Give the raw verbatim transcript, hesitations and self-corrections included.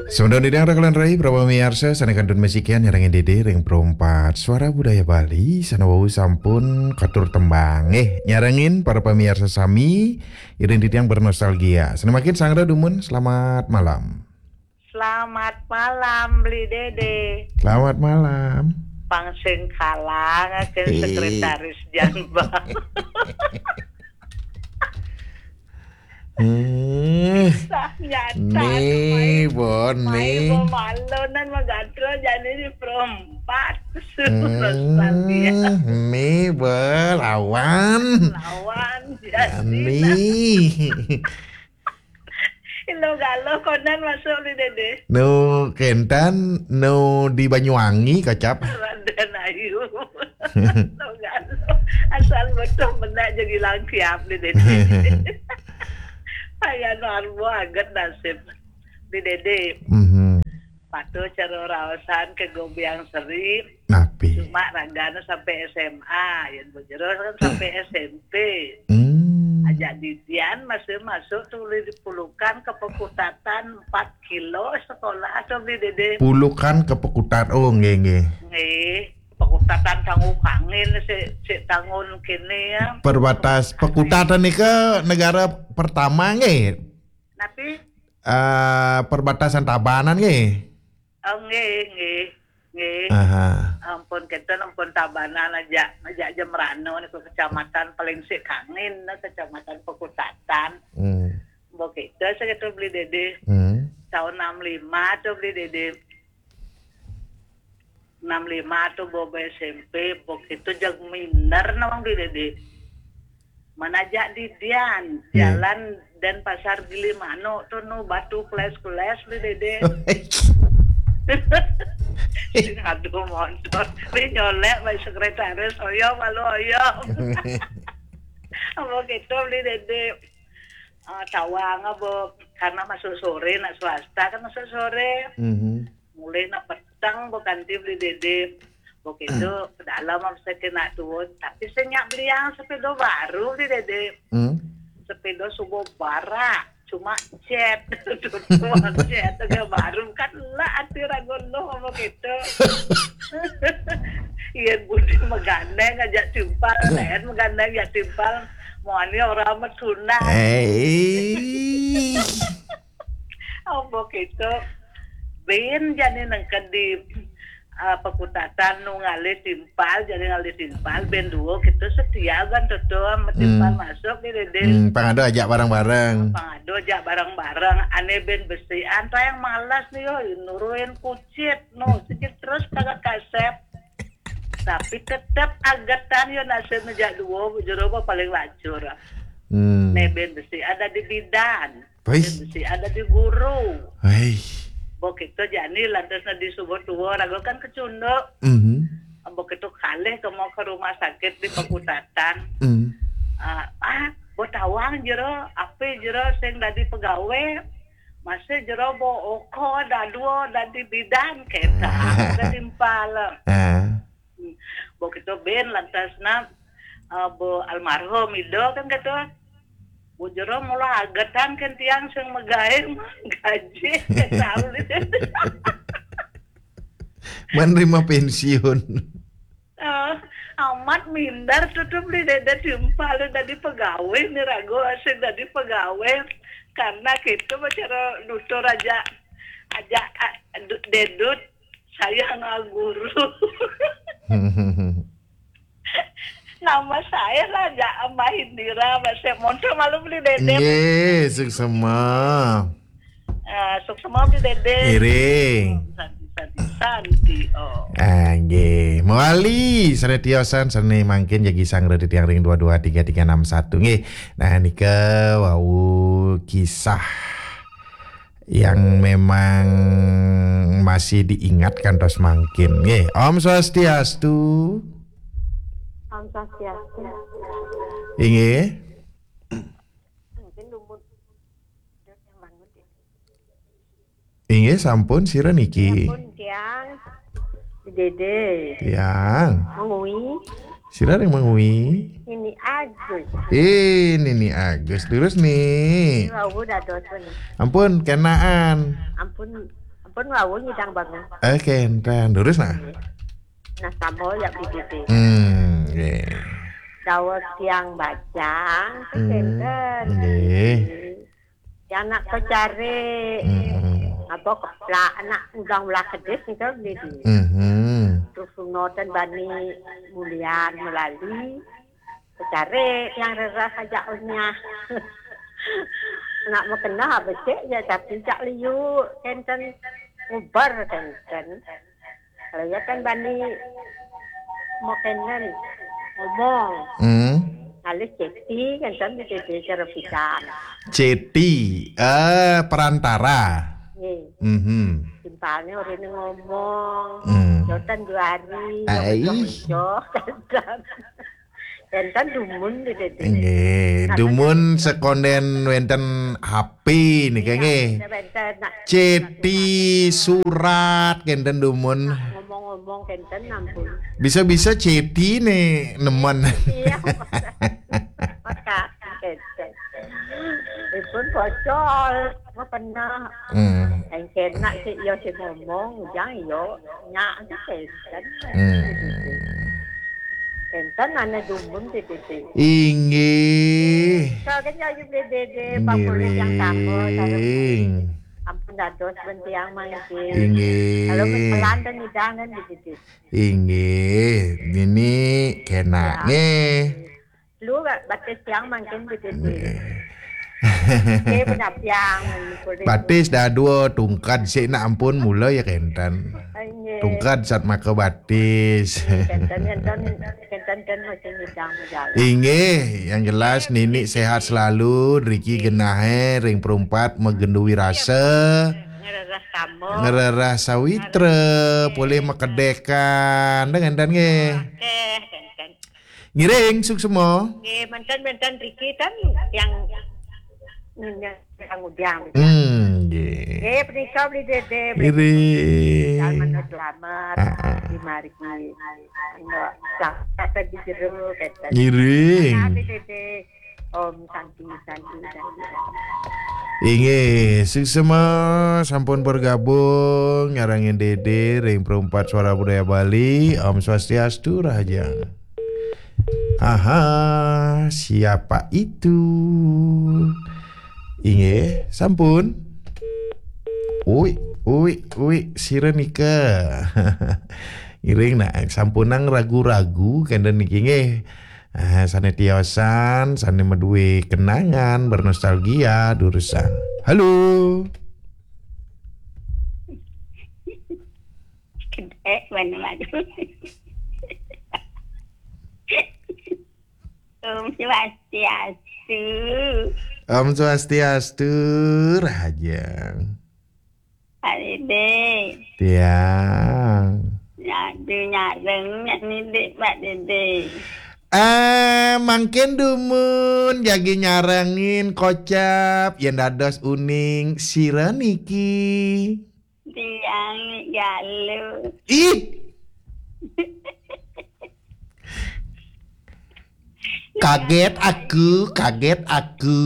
Semeton titiang rikala rai, para pamiarsa, sané kantun masikian nyarengin Dédé ring Pro empat Suara Budaya Bali, sané wau sampun katur tembang. Eh, nyarengin para pamiarsa sami, iring titiang bernostalgia. Sané mangkin sang dumun, selamat malam. Selamat malam, Bli Dédé. Selamat malam. Pang sing kalangaken sekretaris Janbang. Hmm. Sah nyata, nih, Bon, mai nih. Bo malonan magantul jani di Pro empat. Hmm, nih, Bon, lawan. Lawan, jani. Nih. Ilo galo konan masuk di Dédé. Nu kénten, nu di Banyuwangi, kocap. Raden Ayu. Ilo galo. Asal betul benar jadi langkiap di Dédé. Ayan warbo aget nasib di Dédé. Mhm. Patuh cara raosan ke Gobiang Seri. Napi? Cuma ragana sampai S M A, yang bojero kan sampai S M P. Hmm. Aja didian masih masuk tulis di Pulukan ke Pekutatan empat kilo sekolah atau di Dédé. Pulukan ke Pekutat, oh, nggih, nggih. Nggih, Pekutatan tangguh kangin si, si tangun kini ya. Perbatas Pekutatan nika negara pertama nggih. Napi? Eh, perbatasan Tabanan nggih. Oh, nggih, nggih, nggih. Aha. Ampun, kenten, ampun Tabanan aja, aja, aja merano niku kecamatan paling sik kangin, kecamatan Pekutatan. Hmm. Mbok itu saya tuh beli Dédé. Hmm. Tahun enam lima tuh beli Dédé. Enam lima tuh bobo S M P, mbok itu jag minder nawang beli Dédé. Mana jak didian, iya. Jalan Denpasar Gilimanuk tuh nu batu keles-keles beli Dédé. Sing aduh motor, beli nyolek baik sekretaris, oyo malu oyo. Apa gitu beli Dédé. Ah, tawang apa, karena masuk sore, nak swasta kan masuk sore. Mhm. Mulai nak peteng bo kanti beli Dédé. Bo gitu, ke dalam apa saya kena tuh. Tapi saya nyak beli yang sepeda baru beli Dédé. Hmm. Sepeda subuh bara, cuma jet. Tuh jet aja baru kan lah ati ragu lo apa gitu. Iya budi megandeng aja timpal, lain megandeng ya timpal. Mau ani orang amat sunat. Eh. Apa gitu. Bin jani nengked di, eh, Pekutatan nu ngalih timpal, jani ngalih timpal, bin dua gitu setia kan tuh sama timpal. Hmm. Masuk di Dédé. Hmm, pangado ajak bareng-bareng. Pangado ajak bareng-bareng. Ane bin besian, tayang malas nih yo, nuruin kucit, no, kucit terus kagak kasep. Tapi tetep agetan yo nasib ngejak dua, jero apa paling lacur. Hmm. Ne bin besi ada di bidan. Wih. Bin besi ada di guru. Hei. Mbok itu jani lantas na di subuh tua, ragu kan kecunduk. Mhm. Mbok itu kalih ke mau ke rumah sakit di Pekutatan. Hmm. Ah, ah, bo tawang jero, ape jero sing dadi pegawai. Masih jero bo oko dadua dadi bidan kita. Ketimpal. Ah. Hmm. Bo kita bin lantas na, eh, bo almarhum Ido kan kata, bo jero mula agetan kan tiang sing megawe mah gaji. Kata. Menerima pensiun. Eh, amat minder tutup di Dédé timpal dadi pegawai nih ragu asik dadi pegawai karena kita bicara nutur aja aja, ah, du- dedut saya nggak guru. Nama saya lah aja Mbak Indira, Mbak Semonto malu beli Dédé. Nggih, suksema. Eh, suksema beli Dédé. Iring. Santi, santi, santi. Oh. Ah, nggih. Mawali sané tiosan sané mangkin jagi sang reti tiang ring dua dua tiga tiga enam satu nggih. Nah, nika wau kisah yang memang masih diingat kantos mangkin nggih. Om Swastiastu. Om Swastiastu. Inggih. Mungkin lumut. Inggih, sampun, sira niki? Sampun, tiang. Dédé. Tiang. Mangui. Sira ring Mangui? Nini Agus. Eh, Nini Agus. Terus nih. Wau dados nih. Ampun, kenaan. Ampun, Pun wau nyidang bangun. Eh, kenten. Terus nah. Nah, sama ya, Bli Dede. Hmm, nggih. Dawuh tiang bajang, hmm, kenten. Nggih. Ya anak kecare. Hmm. Apa keplak anak udang ulah kedis gitu, Bli Dede. Hmm. Terus sunoten bani mulian melali. Kecare yang rerah aja onyah. Nak mekena becik ya tapi cak liu kenten ubar kenten. Kalau ya kan bani mau kenen ngomong. Hmm. Halus ceti kenten di cara pisan. Ceti, eh, perantara. Nih. Mhm. Simpalnya orang ini ngomong. Hmm. Jotan dua hari. Ai. Jotan. Enten dumun di sini. Nggih, dumun sekonden wenten H P nika nggih. Wenten, nak. Ceti surat kenten dumun. Ngomong-ngomong kenten ampun. Bisa-bisa ceti nih nemen. Iya. Maka kenten. Ipun bocol, mau pernah. Hmm. Yang kena sih iya sih ngomong, jangan yo nyak sih kenten. Hmm. Enten ana dumun di sini. Inggih. Soalnya ayu beli dede, bapak yang sama, ngiring. Ampun dados bentiang mangkin. Inggih. Kalau pelan dan hidangan di sini. Inggih, nini kena nggih. Lu batis yang mangkin di sini. Nggih. Nggih, penapiang. Batis dah dua tungkad sik nak ampun mula ya kenten. Nggih. Tungkad sat maka batis. Kenten, kenten, kenten, kenten masih nyidang jalan. Inggih, yang jelas nini sehat selalu, riki genahe ring perumpat megenduwi rasa. Ngerereh sama. Ngerereh sawitra, polih makedekan, dengan dan nggih. Oke, kenten. Ngiring, suksma. Nggih, menten-menten riki kan yang, yang ngudiang. Hmm, nggih. Nggih, punika beli dede, beli. Ngiring. Selamat, selamat. Ah, ah. Di margi. Enggak, sampai di jero, kata. Ngiring. Beli dede. Om Santi, Santi, Santi. Inggih, suksma sampun bergabung nyarengin Dede ring Perumpat Suara Budaya Bali. Om Swastiastu, Raja. Aha, siapa itu? Inggih, sampun. Ui, ui, ui, sira nika. Ngiring nak, sampunang ragu-ragu kenten niki nggih. Ah, sane tiosan, sane maduwe kenangan, bernostalgia, durusang. Halo. Kedek mana madu. Om Swastiastu. Om Swastiastu, Raja. Pak Dede. Tiang. Nyadu nyareng, nyadu Pak Dede. Eh, mangkin dumun, jagi nyarengin kocap, yen dados uning sira niki. Tiang galuh. Ih. Kaget aku, kaget aku.